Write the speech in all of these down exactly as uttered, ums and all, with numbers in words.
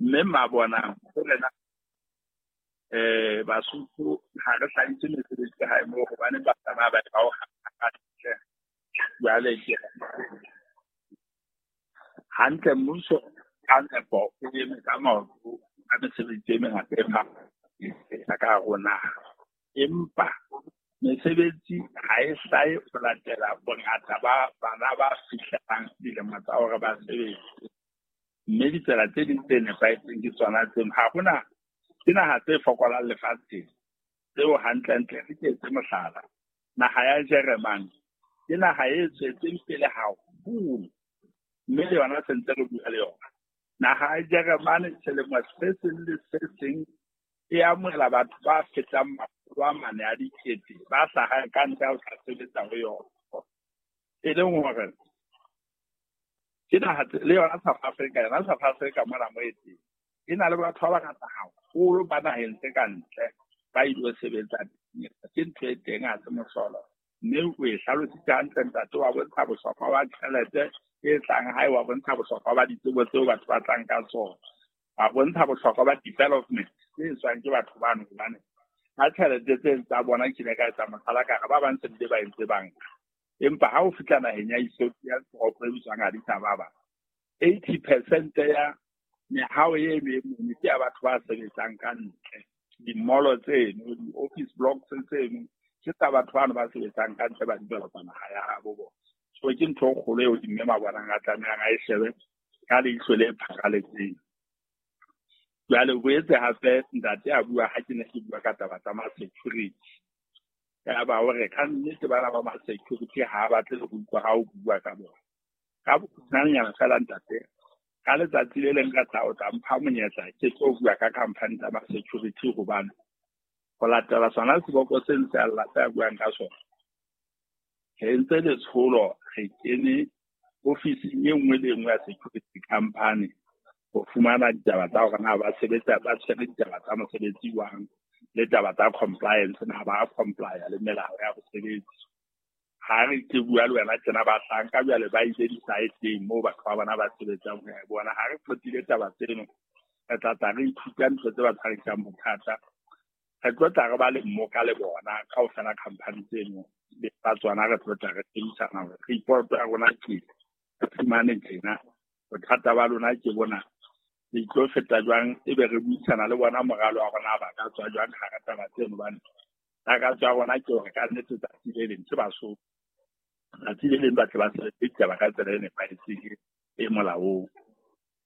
Mme Mabonang ho rena eh Basotho ha re hlahise mesebetsi hae moo hobane ba tsamaya ba ba o hantle. Jwale ke hantle mmuso ka nepo o eme ka maoto ka mesebetsi e mengata e fapaneng ka hare ho naha. Empa mesebetsi ha e hlahe ho latela bongata ba bana ba fihlelang dilemo tsa hore ba sebetse. Mme ditsela tse ding tse nepahetseng ke tsona tseno. Ha hona ke naha tse fokolang lefatsheng tseo hantlentle re ke etse mohlala. Naha ya Jeremane ke naha e tswetseng pele haholo, mme le yona se ntse re bua le yona. Naha ya Jeremane selemo se seng le se seng e amohela batho ba fetang makgolo a mane a dikete ba hlahang ka ntle ho tla sebetsa ho yona. E leng hore ke naha le yona South Africa, yona South Africa mona mo e teng e na le batho ba bangata haholo ba naheng tse ka ntle ba ilo sebetsa teng. Ke ntho e teng, ha se mohlolo. Mme o e hlalositse hantle ntate, wa bontsha bohlokwa ba tjhelete e tlang hae, wa bontsha bohlokwa ba ditsebo tseo batho ba tlang ka tsona, wa bontsha bohlokwa ba development tse etswang ke batho bano, hobane ka tjhelete tse tsa bona ke ile ka etsa mohlala ka re ba bang se bile ba entse banka. Empa ha o fihla naheng ya Ethiopia, toropo e bitswang Addis Ababa, eighty percent ya mehao e meng ke ya batho ba sebetsang ka ntle. Di-mall tseno, di-office blocks tseno ke tsa batho bano ba sebetsang ka ntle ba developa naha ya habo bona. So ke ntho e kgolo eo mme Mabonang a tlamehang a e shebe ka leihlo le pharaletseng. Jwale o boetse hape ntate a bua ha ke ne ke bua ka taba tsa ma-security. Ya ba hore ka nnete bana ba ma-security ha ba batle le ho utlwa ha o bua ka bona. Ka bokgutshwanyana feela ntate, ka letsatsi le leng ka tla o tla mpha monyetla ke tlo bua ka company tsa ma-security, hobane ho latela sona seboko se ntse a lla se a buang ka sona. Re entse letsholo, re kene ofising e nngwe le e nngwe ya security company ho fumana ditaba tsa hore na ba sebetsa, ba tshwere ditaba tsa mosebetsi jwang, le taba tsa compliance, na ba comply le melao ya bosebetsi. Ha re ke bua le wena tjena bahlanka jwale ba ile di-site-eng moo batho ba bona ba sebetsang ho ya bona. Ha re qetile taba tseno, re tla tla re ithuta ntho tse ba tshwarisang bothata. Re tlo tla re ba le mmoka le bona kaofela company tseno le ba tsona, re tlo tla re shebisana hore report ya rona ke re fumane tjena, bothata ba lona ke bona, le tlo feta jwang, ebe re buisana le bona moralo wa rona ba ka tswa jwang hara taba tseno. Hobane takatso ya rona ke hore ka nnete tsatsi le leng ke Basotho, tsatsi le leng ba tle ba sebetse ditaba ka tsela e nepahetseng e molaong.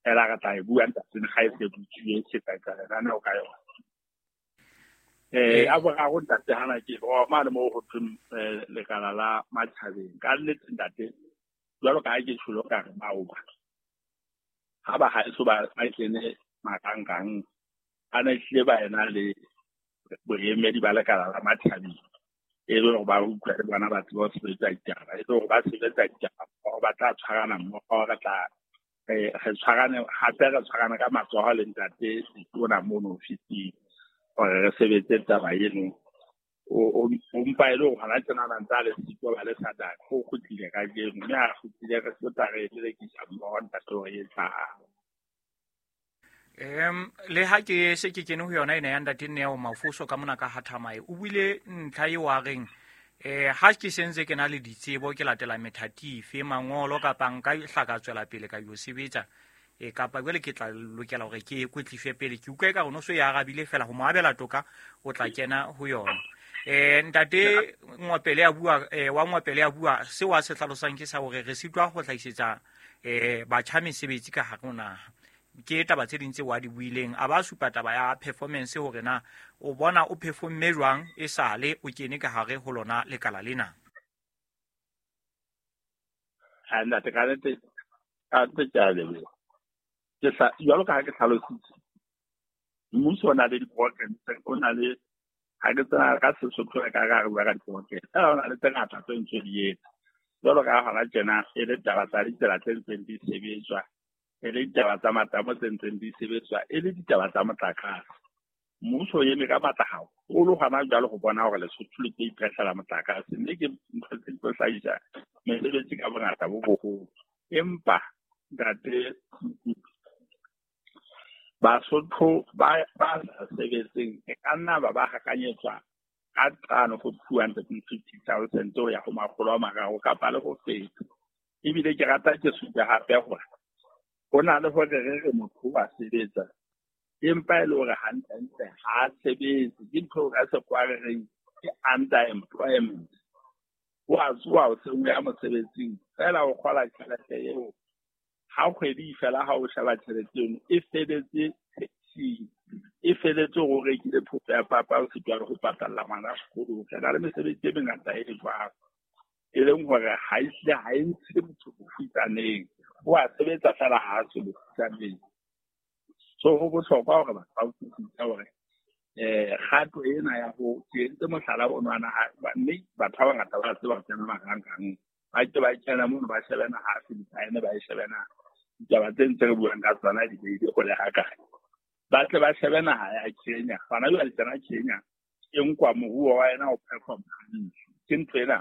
Feela re tla e bua ntateng ga e se butsuwe, se tla etsa lenaneo ka yona. Eh, a boraro ntate hana ke o mane moo ho thweng lekala la matjhabeng. Ka nnete ntate, jwalo ka ha ke tjholo ka re maoba ha ba haeso ba ba kene marangrang, ba ne hlile ba ena le boemedi ba lekala la matjhabeng, e le hore ba utlwa le bona ba tseba ho sebetsa ditaba, e le hore ba sebetsa ditaba mmoho, ba tla tshwarana mmoho, re tla re tshwarane hape, re tshwarane ka matsoho le ntate Letona mono ofising hore re sebetse taba eno. O mpa e le hore hona tjena ba ntse a le siko ba le SADC, o kgutlile kajeno, mme ha kgutlile re tlo tla re lelekisa mmoho ntate hore e etsahale. Em le ha ke se ke kene ho yona ena ya ntate Neo Mafoso ka mona ka Hathamae, o buile ntlha eo a reng eh ha ke sentse ke na le ditsebo, ke latela methati efe, mangolo kapa nka hla ka tswela pele ka yo sebetsa, e kapa jwale ke tla lokela hore ke kwetliswe pele. Ke utlwa eka rona so e arabile fela ho mo abela toka, o tla kena ho yona. Eh ntate Ngwapele a bua, eh wa Ngwapele a bua seo a se hlalosang ke sa hore re sitwa ho hlahisetsa eh batjha mesebetsi ka hare ho naha. Ke taba tse ding tse wa di buileng, a ba supa taba ya performance hore na o bona o performe jwang e sale o kene ka hare ho lona lekala lena. Ha ntate ka nnete, ka nnete ke a leboha. Ke hla, jwalo ka ha ke hlalositse, mmuso o na le di-programs, o na le, ha ke tsena ka Sesotho re ka re bua ka di-programs, feela ho na le tse ngata tse ntse di etsa. Jwalo ka ha hona tjena e le taba tsa ditsela tse ntseng di sebetswa, e le ditaba tsa matamo tse ntseng di sebetswa, e le ditaba tsa motlakase. Mmuso o eme ka matla haholo hona jwale ho bona hore Lesotho le tlo iphehlela motlakase, mme ke ntho tse tlo hlahisa mesebetsi ka bongata bo boholo. Empa ntate, Basotho ba ba sa sebetseng e ka nna ba ba hakanyetswa ka tlano go two hundred and fifty thousand ho ya ho makgolo a mararo kapa le ho feta. Ebile ke rata ke supe hape hore ho na le hore re re motho wa sebetsa empa e le hore hantlentle ha a sebetse, ke ntho ka sekgowa re reng ke underemployment. O a tsoha hoseng o ya mosebetsing feela o kgola tjhelete eo, ha kgwedi fela ha o sheba tjhelete eno e feletse taxing, e feletse hore o rekile phofo ya papa o sitwa le ho patalla ngwana sekolo. Re na le mesebetsi e mengata e jwalo, e leng hore ha e hlile ha e ntshe motho bofutsaneng, o a sebetsa feela ha a tswe bofutsaneng. So ho bohlokwa hore batho ba utlwisise hore eh kgato ena ya ho ke entse mohlala o nwana, mme batho ba bangata ba tseba ho kena marangrang, ba ke ba kena mono ba shebe naha Philippine, ba e shebe naha ditaba tse ntse re buang ka tsona di beile hole hakae, ba tle ba shebe naha ya Kenya. Hona jwale tsena Kenya e nkwa moruo wa yena o perform hantle, ke ntho ena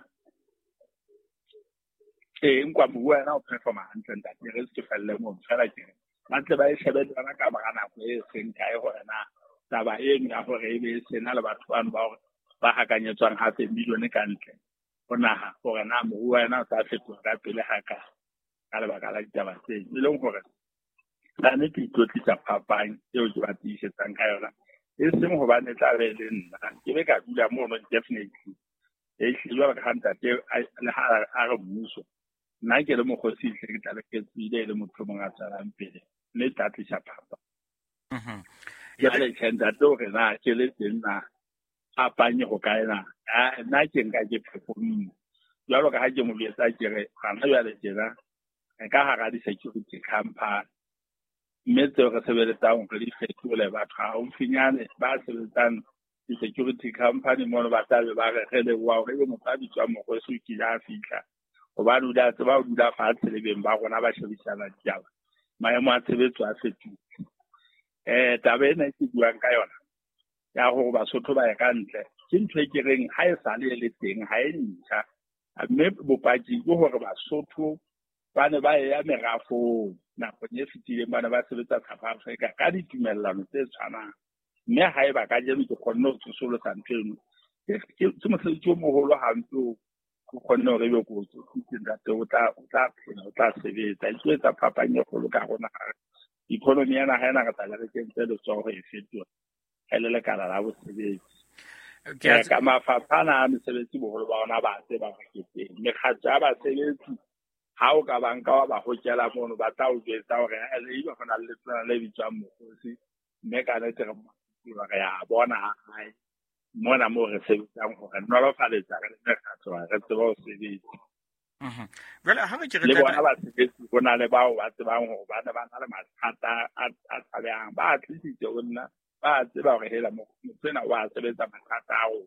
e nkwa moruo wa yena o perform hantle ntate, re se ke felle moo fela ke re ba tle ba e shebe le yona ka mora nako e seng kae hore na taba eno ya hore e be e sena le batho bano ba hore ba hakanyetswang hape milione ka ntle ho naha, hore na moruo wa yena o tla fetoha ka pele hakae ka lebaka la ditaba tseo. E leng hore ka nnete ke itlotlisa phapang eo ke ba tiisetsang ka yona, e seng hobane e tla be e le nna ke be ka dula mono definitely. E hlile jwalo ka ha ntate le ha a re mmuso, nna ke le mokgosi hle ke tla be ke tswile e le motho o mong a tswelang pele, mme e tla tlisa phapang. Jwale tjhe ntate hore na ke le teng na phapang e hokae na, nna ke nka ke performile jwalo ka ha ke mo jwetsa ke re hona jwale tjena re ka hara di-security company, mme tseo re sebeletsang hore di fetole batho haufinyane ba sebetsang di-security company mono ba tla be ba re re leboha hore ebe motho a bitswang Mokgosi o kile a fihla, hobane o ile a tseba ho dula fatshe le beng ba rona ba shebisana ditaba, maemo a tshebetso a fetohile. Eh taba ena e ke buang ka yona ya hore Basotho ba ye ka ntle ke ntho e ke reng ha e sale e le teng, ha e ntjha, mme bopaki ke hore Basotho ba ne ba ya merafong nakong e fetileng, ba ne ba sebetsa South Africa ka ditumellano tse tshwanang, mme haeba kajeno ke kgonne ho tsosolosa ntho eno, ke mosebetsi o moholo hampe o ke kgonne hore ebe ko o tsositse ntate, o tla o tla phela, o tla sebetsa, e tlo etsa phapang e kgolo ka rona. Economy ya naha ena re tla re kentse letsoho e fetoha e le lekala la bosebetsi. Ka mafapha ana a mesebetsi boholo ba ona ba tseba hore ke teng. Mekgatlo ya basebetsi ha o ka ba nka wa ba hokela mono, ba tla o jwetsa hore ebe ho na le letona le bitswang Mokgosi, mme ka nnete re re ya bona ha hae mona moo re sebetsang hore nolofaletsa re le mekgatlo re tsebe ho sebetsa. Jwale ha re ke re le bona basebetsi ho na le bao ba tsebang hore ba ne ba na le mathata a tshabehang, ba tlisitse ho nna, ba tseba hore hela motho ena wa sebetsa mathata ao.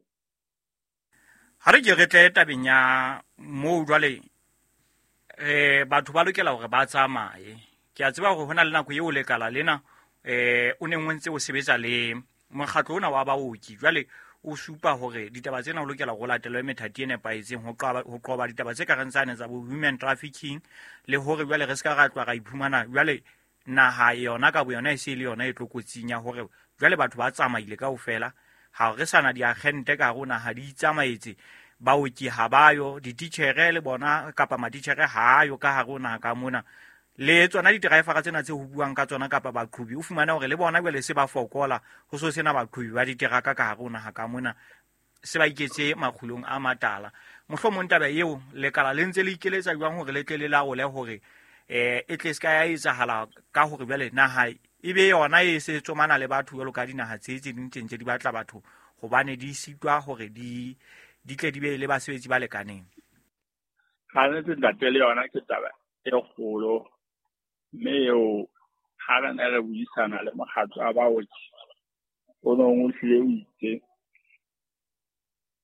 Ha re ke re tle tabeng ya moo jwale eh batho ba lokela hore ba tsamaye. Ke a tseba hore hona le nako eo lekala lena eh o neng o ntse o sebetsa le mokgatlo ona wa baoki, jwale o supa hore ditaba tsena o lokela ho latelwe methati e nepahetseng ho qoba ho qoba ditaba tse ka reng tsane tsa bo human trafficking, le hore jwale re ska ra tloha ra iphumana jwale naha yona ka boyona e se le yona e tlokotsing ya hore jwale batho ba tsamaile kaofela, ha re sana diagente ka rona ha di itsamaetse, baoki ha bayo, dititjhere le bona kapa matitjhere ha ayo ka hare ho naha ka mona, le tsona di-driver tsena tse ho buang ka tsona kapa baqhobi o fumana hore le bona jwale se ba fokola, ho so sena baqhobi ba diteraka ka hare ho naha ka mona, se ba iketse makgulong a matala. Mohlomong taba eo lekala le ntse le ikeletsa jwang hore le tle le laole hore eh e tle se ka ya etsahala ka hore jwale naha e be yona e se tsomana le batho jwalo ka dinaha tse tse ding tse ntse di batla batho hobane di sitwa hore di di tle di be le basebetsi ba lekaneng. Ha nnete ntate, le yona ke taba e kgolo, mme eo ha re ne re buisana le mokgatlo wa baoki o nong o hlile o itse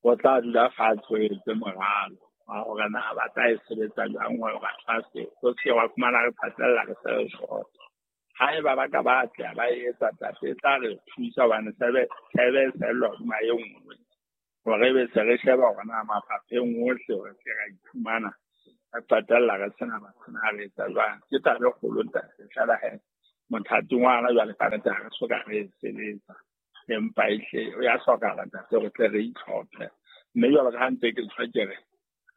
o tla dula fatshe o etse moralo wa hore na ba tla e sebetsa jwang hore batho ba se o se wa fumana re phatlalla re se re short. Haeba ba ka ba atleha ba e etsa tate, e tla re thusa hobane sebe sebe sellwa hodima e nngwe, hore ebe se re sheba hore na mafapheng ohle hore se ra iphumana re qetella re sena batho na re etsa jwang. Ke taba e kgolo ntate, feela he Mothating wa hona jwale kannete ha re soka re e sebetsa, empa ehle o ya hlokahala ntate hore tle re itlhophe. Mme jwalo ka ha ntse ke tjho ke re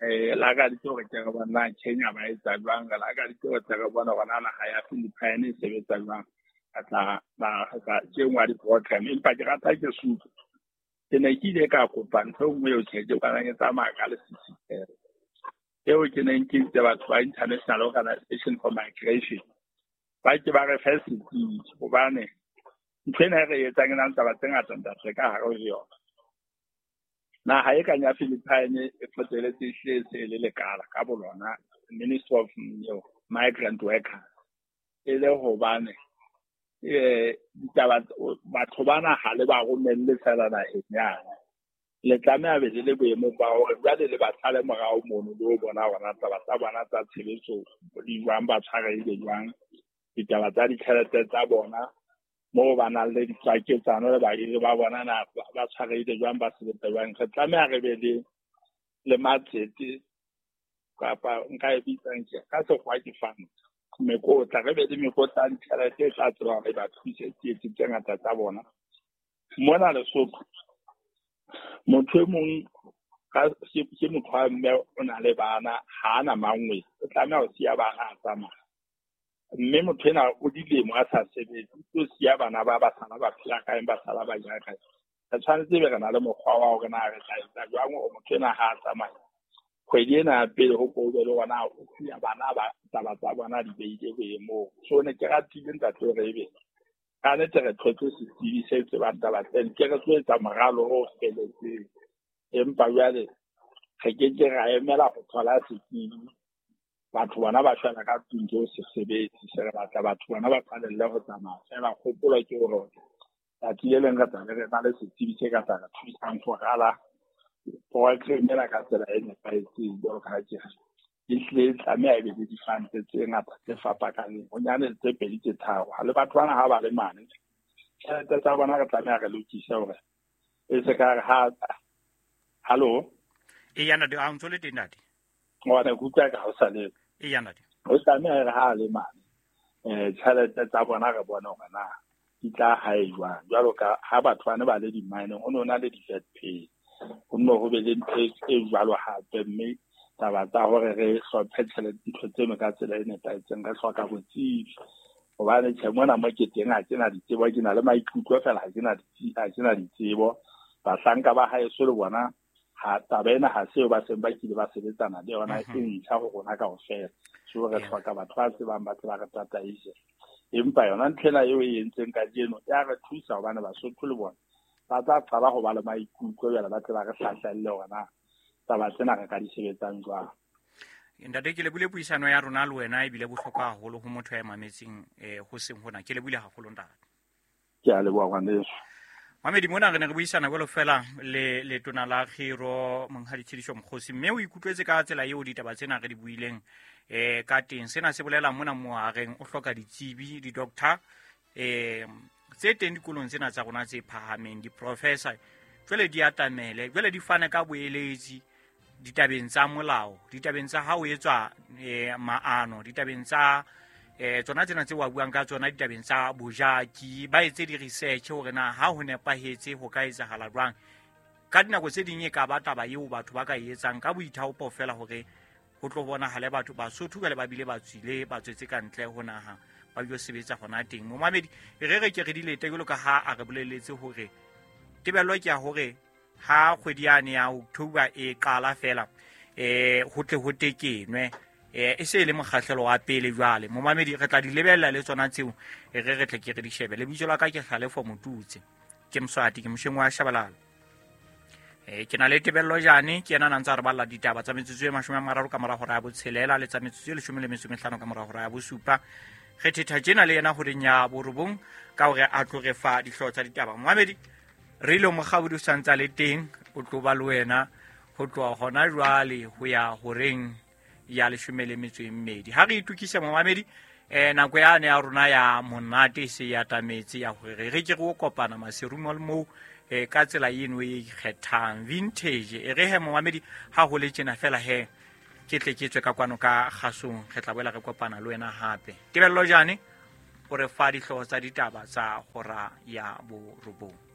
eh lakaditse hore ke re bona Kenya ba etsa jwang, re lakaditse hore tle re bone hore na naha ya Philippines e sebetsa jwang. Ka tla ba ka ke nngwe ya di-program, empa ke rata ke supe. Ke ne ke ile ka kopa ntho e nngwe eo tjhe ke bonang e tsamaya ka lesisitheho. Eo ke neng ke itse batho ba International Organization for Migration ba ke ba re fe setsebi, hobane ntho ena e re etsang e na le taba tse ngata ntate ka hare ho yona. Naha e kang ya Philippines e qetelletse ehlile e se e le lekala ka bolona, Ministry of Migrant Workers, e le hobane eh ditaba batho bana ha le ba romelle fela naheng yane. Le tlameha be le le boemong ba hore jwale le ba sale morao mono le ho bona hore na taba tsa bona tsa tshebetso di jwang, ba tshwarehile jwang, ditaba tsa ditjhelete tsa bona moo ba nang le ditswaketsano le bahiri ba bona na ba tshwarehile jwang, ba sebetsa jwang. Re tlameha re be le le matsete kapa nka e bitsang ke ka sekgowa ke fund, mekotla, re be le mekotla ya ditjhelete e tla tseba hore ba thuse tsietsi tse ngata tsa bona. Mona Lesotho motho e mong ka ke motho wa mme o na le bana, ha ana mangwe, o tlameha ho siya bana a tsamaya. Mme motho ena o dilemo a sa sebetse, o tlo siya bana ba ba sala ba phela kae, ba sala ba ja kae. Re tshwanetse be re na le mokgwa wa hore na re tla etsa jwang hore motho ena ha a tsamaya kgwedi ena ya pele ho ko be le hore na o siya bana ba taba tsa bona di beile boemong. So ne ke ratile ntate hore ebe ka nnete re thotse setsebi se tsebang taba tsena, ke re tlo etsa moralo o felletseng. Empa jwale re ke ke ra emela ho thola setsebi, batho bona ba shwela ka tlung ke ho se sebetse, se re batla batho bona ba qalelle ho tsamaya fela. Kgopolo ke hore tsatsi le leng re tla be re na le setsebi se ka tla re thusang ho rala program ena ka tsela e nepahetseng. Jwalo ka ha ke re ehlile e tlameha e be le di-fund tse ngata tse fapakaneng, bonyane tse pedi tse tharo. Ha le batho bana ha ba le mane, tjhelete tsa bona re tlameha re lokise hore e se ka re ha hallo. Eya ntate, a o ntso le teng ntate? Ngwana ke utlwa ka ha o sa le. Eya ntate. O tlameha re ha le mane eh tjhelete tsa bona re bone hore na di tla hae jwang. Jwalo ka ha batho bana ba le di-mineng, ho no na le di-vet pay, ho nno ho be le ntho e jwalo hape. Mme taba tsa hore re hlophe tjhelete ntho tseno ka tsela e nepahetseng, re hloka botsebi. Hobane tjhe mona mo ke teng ha ke na ditsebo, ke na le maikutlo fela, ha ke na ha ke na ditsebo. Bahlanka ba haeso le bona ha taba ena ha seo ba seng ba kile ba sebetsana le yona, e ntjha ho rona kaofela. So re hloka batho ba tsebang, ba tseba re tataise. Empa yona ntho ena eo e entseng kajeno ya re thusa hobane Basotho le bona ba tla qala ho ba le maikutlo jwale, ba tle ba re hlahlelle hore na taba tsena re ka di sebetsang jwang. Ntate, ke lebile puisano ya rona le wena ebile bohlokwa haholo ho motho ya mametseng eh ho seng hona. Ke lebile haholo ntate. Ke a leboha ngwaneso. Mamedi, mona re ne re buisana jwalo fela le letona la Kgiro Monghadi Tshediso Mokgosi, mme o ikutlwetse ka tsela eo ditaba tsena re di buileng eh ka teng. Sena se bolela mona moareng o hloka ditsebi, di-doctor eh tse teng dikolong tsena tsa rona tse phahameng, di-professor jwale di atamele, jwale di fane ka boeletsi ditabeng tsa molao, ditabeng tsa ha o etswa eh maano, ditabeng tsa eh tsona tsena tse wa buang ka tsona, ditabeng tsa bojaki, ba etse di-research hore na ha ho nepahetse ho ka etsahala jwang. Ka dinako tse ding e ka ba taba eo batho ba ka e etsang ka boithaopo fela hore ho tlo bonahale batho Basotho jwale ba bile ba tswile, ba tswetse ka ntle ho naha, ba yo sebetsa hona teng. Momamedi, re re ke re dilete jwalo ka ha a re boleletse hore tebello ke ya hore ha kgwedi yane ya October e qala fela eh ho tle ho tekenwe eh e se e le mokgahlelo wa pele jwale. Momamedi, re tla di lebella le tsona tseo, re re tle ke re di shebe. Lebitso la ka ke Hlalefo Motutse, ke Mswati, ke mosheng wa Shabalala. Eh ke na le Tebello Jane, ke yena a ntse a re balla ditaba tsa metsotso e mashome a mararo ka mora hora ya botshelela le tsa metsotso e leshome le metso e mehlano ka mora hora ya bosupa. Re thetha tjena le yena horeng ya borobong ka hore a tlo re fa dihlooho tsa ditaba. Momamedi, re ile mokgabodi o sa ntse a le teng, o tlo ba le wena ho tloha hona jwale ho ya horeng ya leshome le metso e mmedi. Ha re itukise momamedi, eh nako yane ya rona ya monate e se ya atametse ya hore re ke re o kopana maserumo le moo eh ka tsela eno e ikgethang vintage. E re he momamedi, ha ho le tjena fela he ke tle ke tswe ka kwano ka kgasong, re tla boela re kopana le wena hape. Tebello Jane O re fa dihlooho tsa ditaba tsa hora ya borobong.